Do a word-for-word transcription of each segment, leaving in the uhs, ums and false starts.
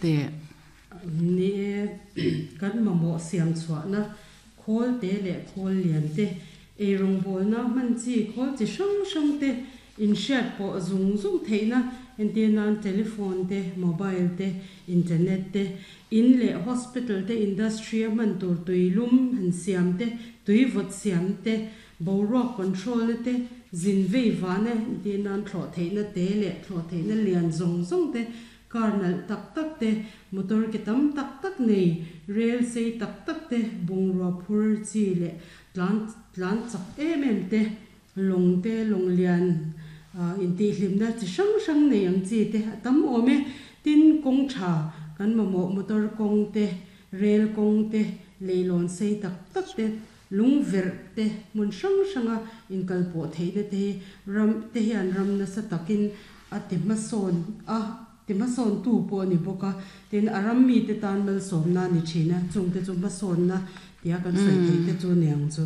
Teh. Ni e, kan mamawh siam chhuahna khawl te leh khawl lian te, eirawngbawlna hman chi khawl chi hrang hrang te, inhriat pawh zung zung theihna entir nan telephone te, mobile te, internet te, in leh hospital te, industry a hman tur tuilum han siam te, tui vawt siam te, boruak control na te, zin vei vahna entir nan thlawh theihna te leh thlawh theihna lian zawng zawng te, car nalh tak tak te, motor ke tam tak tak nei, rel sei tak tak te, bungrua phur chi leh tlan tlan chak em em te, lawng te, lawng lian intihhlimna chi hrang hrang nei ang chi te a tam awm e. Tin, kawng tha kan mamawh motor kawng te, rel kawng te, leilawn sei tak tak te, lung verh te, hmun hrang hranga inkalpawh theihna te hi ram te hian ram nasa takin a ti hmasawn a, ti hmasawntu pawh a ni bawk a. Tin, a ram mite tan malsawmna a ni thin a, chungte chu hmasawnna tia kan sawi theih te chu ni ang chu.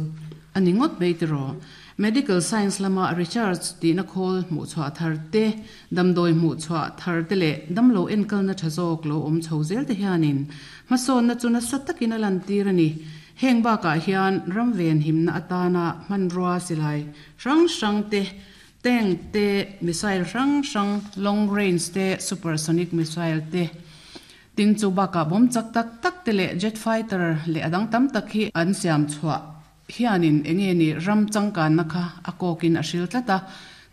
A ni ngawt mai tiraw? Medical science lama research tihna khawl hmuh chhuah thar te, damdawi hmuh chhuah thar te leh damlo enkalna tha zawk lo awm chho zel te hianin hmasawnna chu nasa takin a lantir a ni. Heng bakah hian ram venhimna atana hmanrua silai hrang hrang te, tank te, missile hrang hrang, long range te, supersonic missile te, tin chu bakah bomb chak tak tak te leh jet fighter leh a dang tam tak hi an siam chhuah hianin enge ni ram changkanna kha a kawkin a hril tlat a.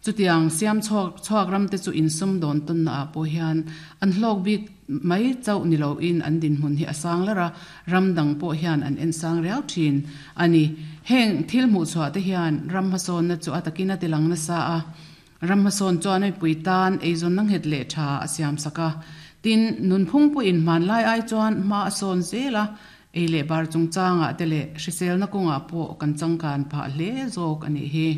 Chutiang siam chhuak chhuak ram te chu insum dawn tawnna ah pawh hian an hlawk bik mai chauh ni loin an dinhmun hi a sang lar a, ram dang pawh hian an en sang riau thin a ni. Heng thil hmuh chhuah te hian ram hmasawnna chu a takin a tilang nasa a, ram hmasawn chuan mipui tan eizawnna nghet leh tha a siam sak a. Tin, nunphung pawhin hmanlai ai chuan hma a sawn zel a, ei leh bar chungchangah te leh hriselna kawngah pawh kan changkan phah hle zawk a nih hi.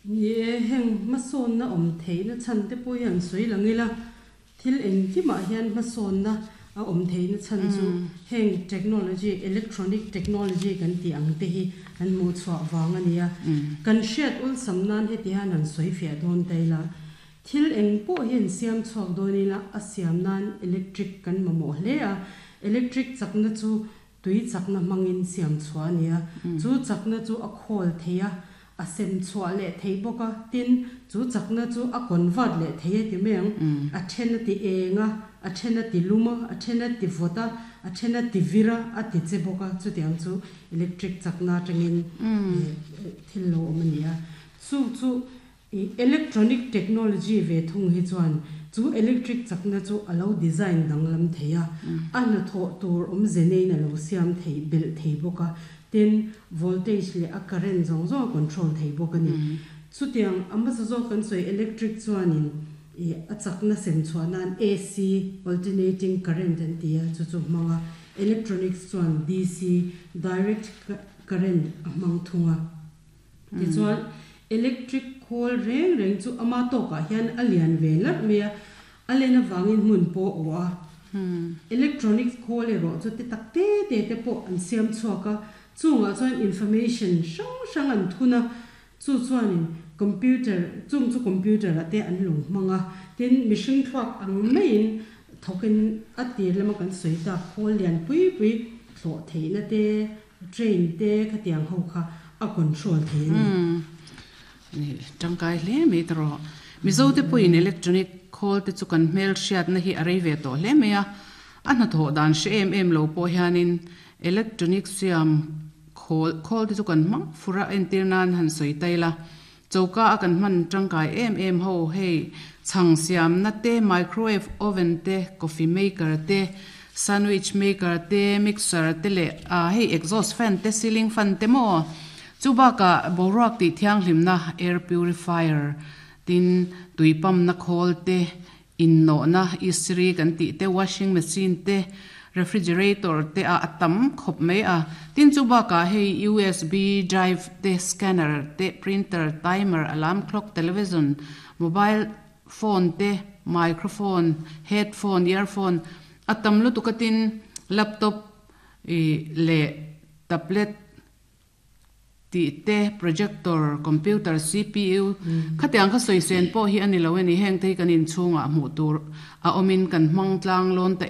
Ni e, heng hmasawnna awm theihna chhan te pawh hi an sawi lang ila, thil engkimah hian hmasawnna a awm theihna chhan chu heng technology, electronic technology kan tih ang te hi an hmuh chhuah vang a ni a. Kan hriat awlsam nan heti hian han sawi fiah dawn ta ila, thil eng pawh hi an siam chhuak dawn ila a siam nan electric kan mamawh hle a, electric chakna chu tui chakna hmangin siam chhuah a ni a, chu chakna chu a khawl thei a, a sem chhuah leh thei bawk a, tin chu chakna chu a convert leh thei a ti mai ang, a then a ti eng a, a then a ti lum a, a then a ti vawt a, a then a ti vir a, a ti che bawk a, chutiang chu electric chakna atangin thil lo awm a ni a. Chu chu electronic technology ve thung hi chuan chu electric chakna chu a lo design danglam thei a, a hnathawh tur awmze neiin a lo siam thei belh thei bawk a, tin voltage leh a current zawng zawng a control thei bawk a ni. Chutiang a hmasa zawk kan sawi electric chuanin a chakna sem chhuah nan A C, alternating current an ti a, chu chu hmang a, electronics chuan D C, direct current a hmang thung a. Tichuan electric khawl reng reng chu ama tawkah hian a lian ve larh mai a, a len avangin hmun pawh a awh a. Electronics khawl erawh chu te tak te te te pawh an siam chhuak a, chungah chuan information hrang hrang an thun a, chu chuanin computer, chung chu computer ah te an lo hmang a, tin mihring thluak ang maiin thawkin a tir lama kan sawi tak khawl lian pui pui thlawh theihna te, train te khatiang ho kha a control thei a ni. Ni, tangkai hle mai ta rawh. Mizo te pawhin electronic khawl te chu kan hmel hriatna hi a rei ve tawh hle mai a, a hnathawh dan hre em em lo pawh hianin electronic siam khawl khawl te chu kan hmang fur a, entir nan han sawi ta ila, choka a kan hman tangkai em em ho hei chhang siamna te, microwave oven te, coffee maker te, sandwich maker te, mixer te leh ah hei exhaust fan te, ceiling fan te maw chu bakah boruak tih thianghlimna air purifier tin tui pump na khawl te, innawhna istiri kan tih te, washing machine te, refrigerator te a a tam khawp mai a. Tin chu bakah hei U S B drive te, scanner te, printer, timer, alarm clock, television, mobile phone te, microphone, headphone, earphone a tam lutuk a tin laptop ih leh tablet Tih te projector computer cpu khatiang kha sawi sen pawh hi ani lo ani heng te hi kan inchhungah hmuh tur a awmin kan hmang tlang lawn ta